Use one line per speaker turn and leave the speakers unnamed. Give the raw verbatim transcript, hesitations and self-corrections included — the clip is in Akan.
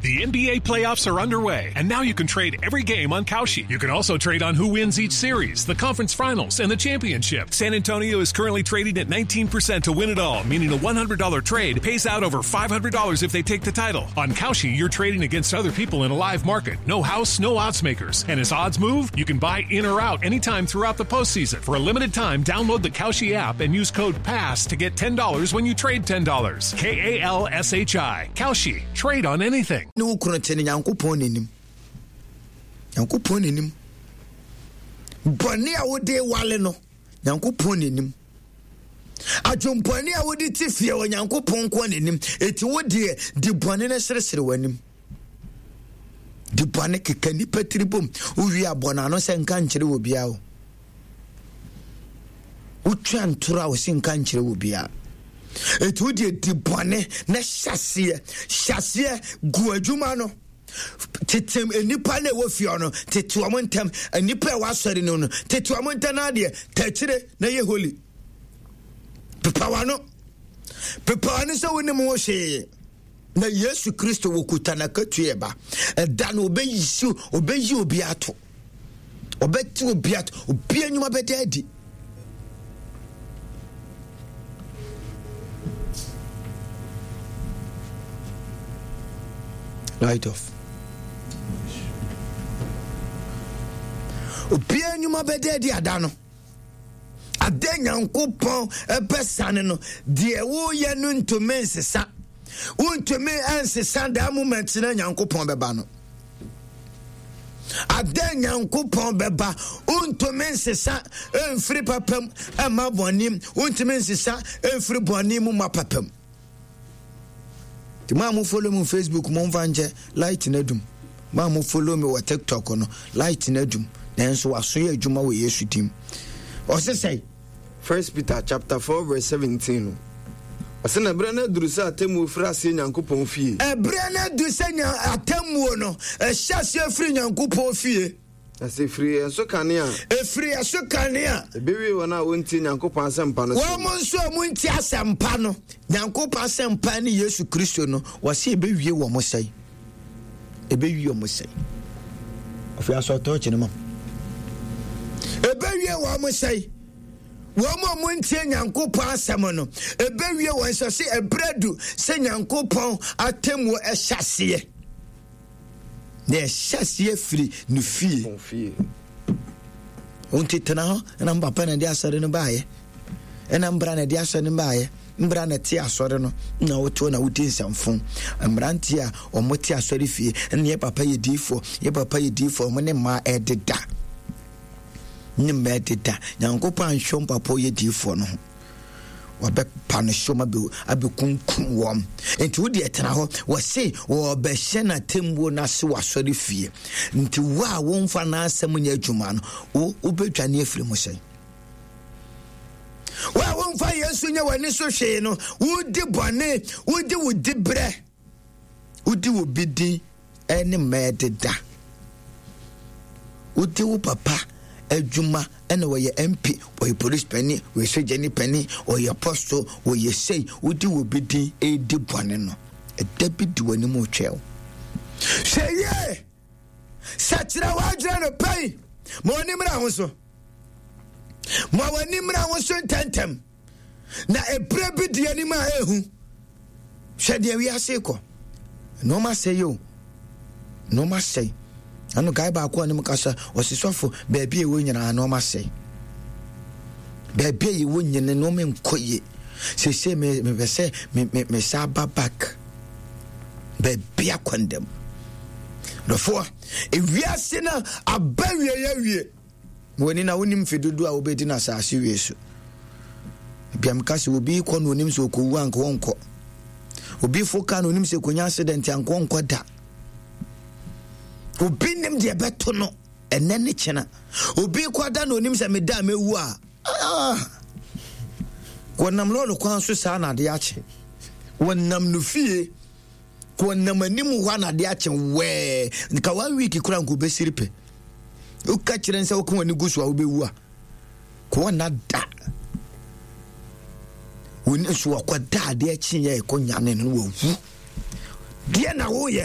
The N B A playoffs are underway, and now you can trade every game on Kalshi. You can also trade on who wins each series, the conference finals, and the championship. San Antonio is currently trading at nineteen percent to win it all, meaning a one hundred dollar trade pays out over five hundred dollars if they take the title. On Kalshi, you're trading against other people in a live market. No house, no odds makers. And as odds move, you can buy in or out anytime throughout the postseason. For a limited time, download the Kalshi app and use code PASS to get ten dollars when you trade ten dollars. K A L S H I. Kalshi. Trade on anything.
Ne wo kunu te no, Nyankopɔn n'anim, Nyankopɔn n'anim, bɔne a wode wale no, Nyankopɔn n'anim, adwompɔne a wode te fie wɔ Nyankopɔn nko n'anim. Eti wo deɛ, di bɔne no seresere w'anim, di bɔne keka nipa tiri bom, wowie abɔ n'ano sɛ nka nkyerɛ wɔ biara o. Wotwa ntoro a wɔsi nka nkyerɛ wɔ biara. Eti wo deɛ, di bɔne na hyɛseɛ hyɛseɛ gu adwuma no, tete nipa na ɛwɔ fie no, tete wɔn ntɛm, nipa a ɛwɔ asɔre no no, tete wɔn ntɛm na adeɛ tɛkyerɛ na yɛ holy. Pepa wano, pepa wano sɛ wɔnim ho hwee na Yesu Kristo wɔkuta n'akatua ɛba ɛda no, ɔbɛyi si, ɔbɛyi obi ato, ɔbɛte obi ato, obi anwuma bɛda adi. Light off. Obiara nnwuma bɛda adi ada no ada. Nyankopɔn ɛbɛ sane no deɛ, woyɛ no ntumi nsesa, wontumi nsesa daa moment na Nyankopɔn bɛba no ada. Nyankopɔn bɛba, wontumi nsesa mfiri papam ɛma bɔne, wontumi nsesa mfiri bɔne mu ma papam. Nti mo a mo follow mu Facebook, mo mfa nkyɛ, light no adum. Mo a mo follow me wɔ TikTok no, light no adum, nanso waso yɛ adwuma wɔ Yesu dim. Ɔse sɛe.
First Peter chapter four verse seventeen no, ɔsɛ na ɛberɛ no aduru sɛ atemmuo firi aseɛ Nyankopɔn fie.
Ɛberɛ no adu sɛ nya atemmuo no ɛhyɛ aseɛ firi Nyankopɔn fie.
Na sɛ ɛfiri yɛn so kane a,
ɛfiri ɛso kane a,
ɛbɛwie wɔn a wɔntie Nyankopɔn asɛmpa no so.
Wɔn nso a montie asɛmpa no, Nyankopɔn asɛmpa ne Yesu Kristo no, wɔsɛ ɛbɛwie wɔ mo sɛe, ɛbɛwie wɔ mo sɛe. Ɔfei asɔ tɔɔkye no ma ɛbɛwie wɔ mo sɛe. Wɔn a montie Nyankopɔn asɛm no, ɛbɛwie wɔn sɛ sɛ ɛberɛ du sɛ Nyankopɔn atemmuo ɛhyɛ aseɛ, na ɛhyɛ aseɛ firi ne fie.
Wɔn fie.
Wonti tena hɔ ɛna mpapa na ɛde asɔre no baayɛ, ɛna mbra na ɛde asɔre no baayɛ, mbra na ɛte asɔre no na wotoɔ na wodi nsɛmfo. Mmeranteɛ a wɔn te asɔre fie ɛna yɛ papa yɛ diifoɔ, yɛ papa yɛ diifoɔ, wɔn ne mmaa ɛdeda, ne mmaa ɛdeda. Nyankopɔn anhwɛ mpapa ɔyɛ diifoɔ no ho, wɔbɛpa no so ma abɛkunkum wɔn. Nti wode ɛtena hɔ, wɔse wɔbɛhyɛ n'atemmuo no ase wɔ asɔre fie. Nti wo a womfa n'asɛm nyɛ adwuma no, wo wobɛdwane afiri mu sɛn? Wo a womfa Yesu nyɛ w'ani so hwee no, wodi bɔne, wodi wo diberɛ, wodi wo bi din ɛne mmaa deda, wodi wo papa adwuma, ɛna wɔyɛ M P, wɔyɛ police panin, wɔyɛ sogyani panin, wɔyɛ apostle, wɔyɛ sei, wodi wo bi din ɛdi bɔne no, ɛda bi di w'anim retwɛn wo. Hwɛ yie, sɛkyerɛ w'adwene no pɛi ma w'ani mmra ho so, ma w'ani mmra ho so ntɛntɛm, na ɛberɛ bi di anim a ɛhu. Hwɛ deɛ wiase kɔ, nneɛma sɛe o, nneɛma sɛe. Ano guy baako a ne mu kasa, ɔsi sɔfo, baabi a ɛwɔ nyinaa nneɛma sɛe, baabi a yɛwɔ nyina nneɛma nkɔ yie. Sese me mepɛ sɛ me me me sa ba back baabi akwandam dɔfoɔ. Ewiase no aba wie yɛ wie w'ani na wonim mfe dodoɔ a wobɛdi no asase wie so. Biam ka sɛ obi kɔ na onim sɛ ɔkɔwu anka ɔnkɔ, obi fo ka na onim sɛ kɔnya accident anka ɔnkɔ da. Obi nim deɛ ɛbɛto no ɛnɛ ne kyena. Obi kɔ ada na onim sɛ meda a mɛwu a, ah. Wɔnam lɔɔre kwan so saa na adeɛ akye, wɔnam no fie, wɔnam anim hɔ a na adeɛ akye wɛɛ. Nka one week kora nka obɛsiri pɛ. Woka kyerɛ n sɛ woka w'ani gu so a wobɛwu a, kò wɔnna da wɔni nso, wɔkɔda adeɛ kyeeɛ, ɛkɔ nyane no, wawu. Deɛ na woyɛ.